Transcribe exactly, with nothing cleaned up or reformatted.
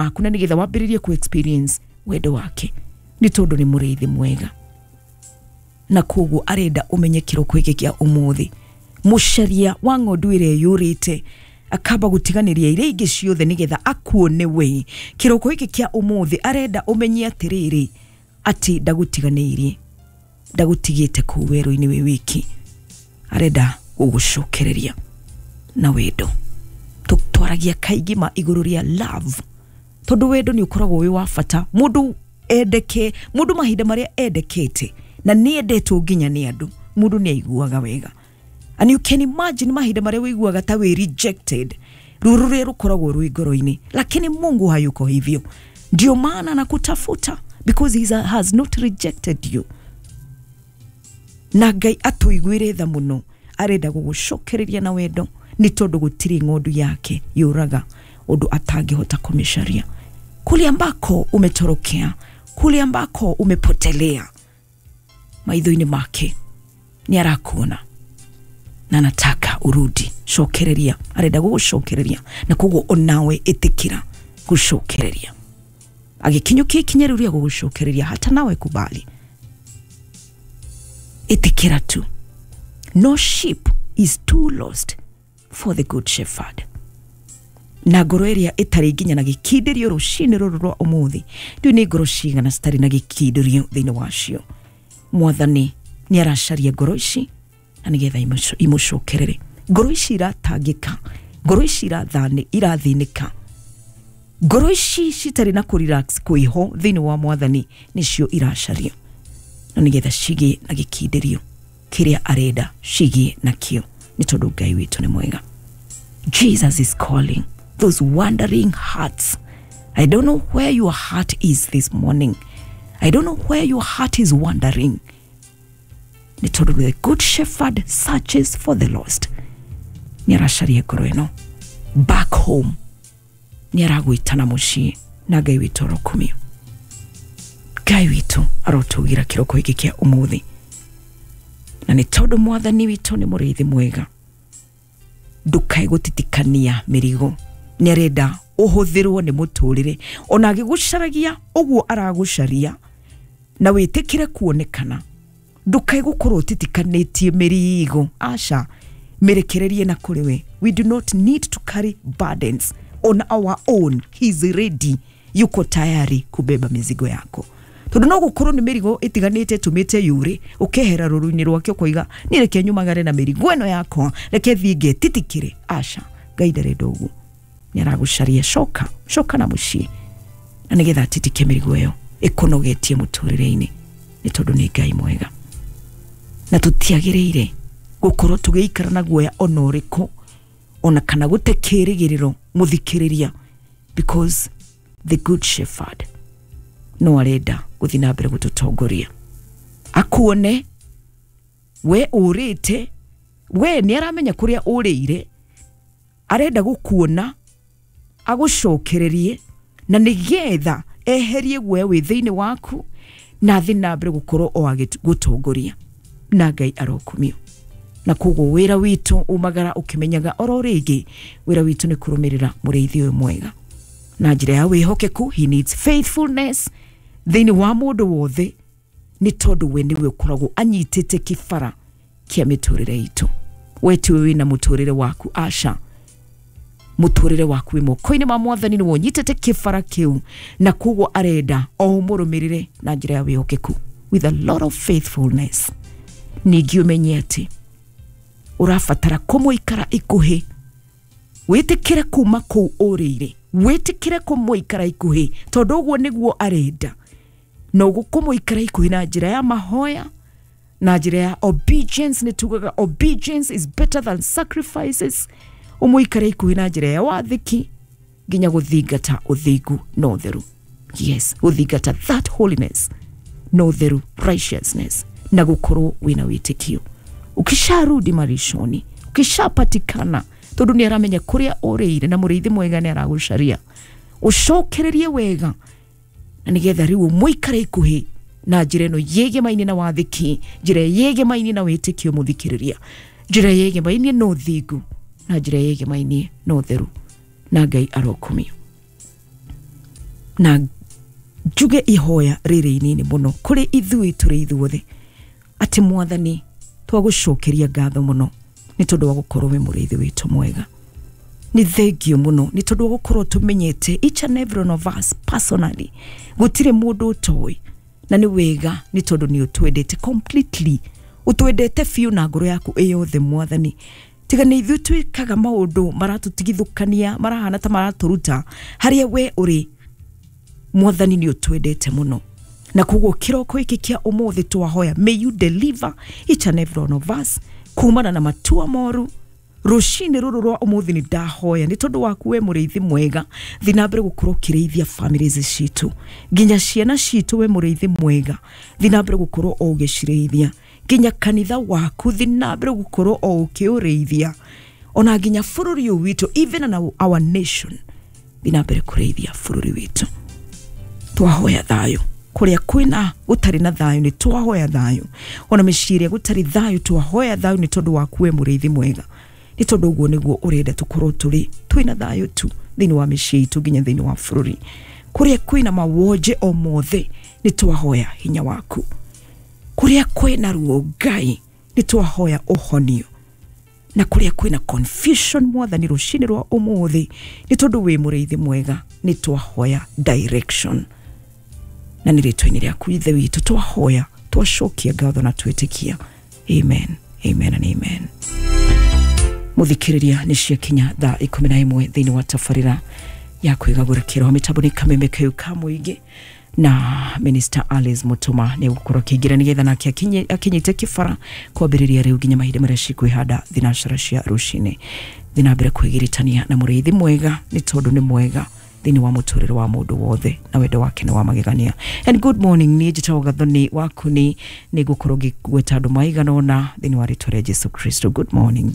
Maku na nĩgetha wambĩrĩrie ku experience wendo wake, nĩ tondũ nĩ mũrĩithi mwega. Na koguo arenda ũmenye kĩroko gĩkĩ kĩa ũmũthĩ, mũcaria wa ng'ondu ĩrĩa yũrĩte akamba gũtiganĩria iria ingĩ ciothe nĩgetha akuone we. Kĩroko gĩkĩ kĩa ũmũthĩ arenda ũmenye atĩrĩrĩ, atĩ ndagũtiganĩirie, ndagũtigĩte kũu werũ-inĩ wĩ wiki. Arenda gũgũcokereria na wendo. Twaragia kaingĩ ma igũrũ rĩa love, tondũ wendo nĩ ũkoragwo wĩ wa bata. Mũndũ endeke, mũndũ mahinda marĩa endekete na nĩ endetwo nginya nĩ andũ, mũndũ nĩ aiguaga wega. And you can imagine mahinda marĩa ũiguaga ta wĩ rejected, ruo rũrĩa rũkoragwo rwĩ ngoro-inĩ. Lakini Mungu hayuko hivyo, ndio maana anakutafuta, because he has not rejected you. Na Ngai atũiguĩre tha mũno, arenda gũgũcokereria na wendo, nĩ tondũ gũtirĩ ng'ondu yake yũraga ũndũ atangĩhota kũmĩcaria. Kule ambako umetorokea, kule ambako umepotelea, maitho-inĩ make nĩ arakuona na anataka urudi. Cokereria, arenda gũgũcokereria, na koguo onawe ĩtĩkĩra gũcokereria. Agĩkinyũkia ikinya rĩu rĩa gũgũcokereria, hata nawe kubali, ĩtĩkĩra tu. No sheep is too lost for the good shepherd. Na ngoro ĩrĩa ĩtarĩ nginya na gĩkindĩrio rũcinĩ rũrũ rwa ũmũthĩ, ndiũĩ nĩ ngoro cigana citarĩ na gĩkindĩrio thĩinĩ wacio. Mwathani nĩ aracaria ngoro ici na nĩgetha imũcokerere. Ngoro ici iratangĩka, ngoro ici irathani irathĩnĩka, ngoro ici citarĩ na kũrelax kwĩho thĩinĩ wa mwathani nĩcio iracaria, na nĩgetha cigĩe na gĩkindĩrio kĩrĩa arenda cigĩe nakĩo, nĩ tondũ Ngai witũ nĩ mwega. Jesus is calling those wandering hearts. I don't know where your heart is this morning. I don't know where your heart is wandering. Nĩ tondũ the good shepherd searches for the lost. Nĩ aracaria ngoro ĩno back home, nĩ aragwĩtana mũciĩ, na Ngai witũ arokumio. Ngai witũ arotũgira kĩroko gĩkĩ kĩa ũmũthĩ, na nĩ tondũ mwathani witũ nĩ mũrĩithi mwega, ndũkae gũtitikania mĩrigo. Nĩ arenda ũhũthĩrwo nĩ mũtũrĩre, ona agĩgũcaragia ũguo aragũcaria, na wĩtĩkĩre kuonekana. Ndũkae gũkorwo ũtitikanĩtie mĩrigo, aca, mĩrekererie na kũrĩ we. We do not need to carry burdens on our own. He is ready, yuko tayari kubeba mizigo yako. Tondũ no gũkorwo nĩ mĩrigo ĩtiganĩte ĩtũmĩte yũre, ũkehera rũru-inĩ rwake ũkoiga niĩ reke nyumagare na mĩrigo ĩno yakwa, reke thiĩ ngetitikĩre. Aca, Ngai ndarenda ũguo, nĩ aragũcaria. Coka, coka na mũciĩ, na nĩgetha atitike mĩrigo ĩyo ĩkũnogetie mũtũrĩre-inĩ, nĩ tondũ nĩ Ngai mwega. Na tũtiagĩrĩire gũkorwo tũgĩikara na guoya ona ũrĩkũ, ona kana gũte kĩĩrĩgĩrĩro mũthikĩrĩria, because the good shepherd no arenda gũthiĩ na mbere gũtũtongoria. Akuone we ũrĩte, we nĩ aramenya kũrĩa ũrĩire, arenda gũkuona agũcokererie, na nĩgetha eherie guoya wĩ thĩinĩ waku, na athiĩ na mbere gũkorwo o agĩgũtongoria. Na Ngai arokumio. Na koguo wĩra witũ umagara ũkĩmenyaga oro rĩngĩ, wĩra witũ nĩ kũrũmĩrĩra mũrĩithi ũyũ mwega na njĩra ya wĩhokeku. He needs faithfulness thĩinĩ wa mũndũ wothe, nĩ tondũ we nĩwe ũkoragwo anyitĩte kĩbara kĩa mĩtũrĩre itũ. We tiwe wĩna mũtũrĩre waku, aca, mũtũrĩre waku wĩ moko-inĩ ma mwathani, nĩwe ũnyitĩte kĩbara kĩu, na koguo arenda o ũmũrũmĩrĩre na njĩra ya wĩhokeku, with a lot of faithfulness. Ningĩ ũmenye atĩ ũrabatara kũmũikara ikuhĩ, wĩtĩkĩre kuma kũu ũrĩire, wĩtĩkĩre kũmũikara ikuhĩ, tondũ ũguo nĩguo arenda. Na kũmũikara ikuhĩ na njĩra ya mahoya, na njĩra ya obedience. Nĩ tugaga obedience is better than sacrifices. Ũmũikare ikuhĩ na njĩra ya wathĩki, nginya gũthingata ũthingu na ũtheru. Yes, gũthingata that holiness na ũtheru, righteousness, na gũkorwo wĩna wĩtĩkio. Ukisharudi malishoni, ukishapatikana, tondũ nĩ aramenya kũrĩa ũrĩire, na mũrĩithi mwega nĩ aragũcaria, ũcokererie wega, na nĩgetha rĩu ũmũikare ikuhĩ na njĩra ĩno yĩgemaine na wathĩki, njĩra yĩgemaine na wĩtĩkio mũthikĩrĩria, njĩra yĩgemaine na ũthingu, na njĩra yĩgemaine na ũtheru. Na Ngai arokumio. Na njuge ihoya rĩrĩ inini mũno kũrĩ ithuĩ tũrĩ ithuothe, atĩ Mwathani twagũcokeria ngatho mũno nĩ tondũ wa gũkorwo wĩ mũrĩithi witũ mwega. Nĩ thengio mũno nĩ tondũ wa gũkorwo tũmenyete each and every one of us personally, gũtirĩ mũndũ ũtoĩ, na nĩ wega nĩ tondũ nĩ ũtwendete completely, ũtwendete biũ na ngoro yaku ĩyothe Mwathani. Tiga nĩ ithuĩ twĩkaga maũndũ maratũtigithũkania, marahana ta maratũruta harĩa we ũrĩ, Mwathani nĩ ũtwendete mũno. Na koguo kĩroko gĩkĩ kĩa ũmũthĩ twahoya, may you deliver each and every one of us kumana na matua moru. Rũcinĩ rũrũ rwa ũmũthĩ nĩ ndahoya nĩ tondũ waku we mũrĩithi mwega, thiĩ na mbere gũkorwo ũkĩrĩithia families citũ, nginya ciana citũ, we mũrĩithi mwega, thiĩ na mbere gũkorwo o ũgĩcirĩithia, nginya kanitha waku thiĩ na mbere gũkorwo o ũkĩũrĩithia, ona nginya bũrũri ũyũ witũ, even in our, our nation, thiĩ na mbere kũrĩithia bũrũri witũ. Twahoya thayũ kũrĩa kwĩna gũtarĩ na thayũ, nĩ twahoya thayũ, ona mĩciĩ ĩrĩa gũtarĩ thayũ twahoya thayũ nĩ tondũ waku we mũrĩithi mwega, nĩ tondũ ũguo nĩguo ũrenda tũkorwo tũrĩ twĩna thayũ tu thĩinĩ wa mĩciĩ itũ nginya thĩinĩ wa bũrũri. Kũrĩa kwĩna mawonje o mothe nĩ twahoya hinya waku, kũrĩa kwĩna ruo Ngai nĩ twahoya ũhonio, na kũrĩa kwĩna confusion Mwathani rũcinĩ rwa ũmũthĩ nĩ tondũ wĩ mũrĩithi mwega nĩ twahoya direction. Na nĩ rĩtwa-inĩ rĩaku Ithe witũ twahoya, twacokia ngatho na twĩtĩkia. Amen, amen and amen. Mũthikĩrĩria, nĩ ciakinya thaa ikũmi na ĩmwe thĩinĩ wa tabarĩra ya kwĩgagũra kĩroho. Mĩtambo nĩ kameme kau ka mũingĩ na Minister Alice Mutuma nĩ egũkorwo akĩingĩra nĩgetha nake akinye akinyĩte kĩbara kwambĩrĩria rĩu nginya mahinda marĩa cikwĩhanda thinacara cia rũcinĩ. Thiĩ na mbere kwĩgiritania na mũrĩithi mwega nĩ tondũ nĩ mwega thĩinĩ wa mũtũrĩre wa mũndũ wothe na wendo wake nĩ wa magegania. And good morning, niĩ njĩtagwo Gathoni Wakuni, nĩ ngũkorwo ngĩgweta andũ maigana ũna thĩinĩ wa rĩtwa rĩa Jesu Kristo. Good morning.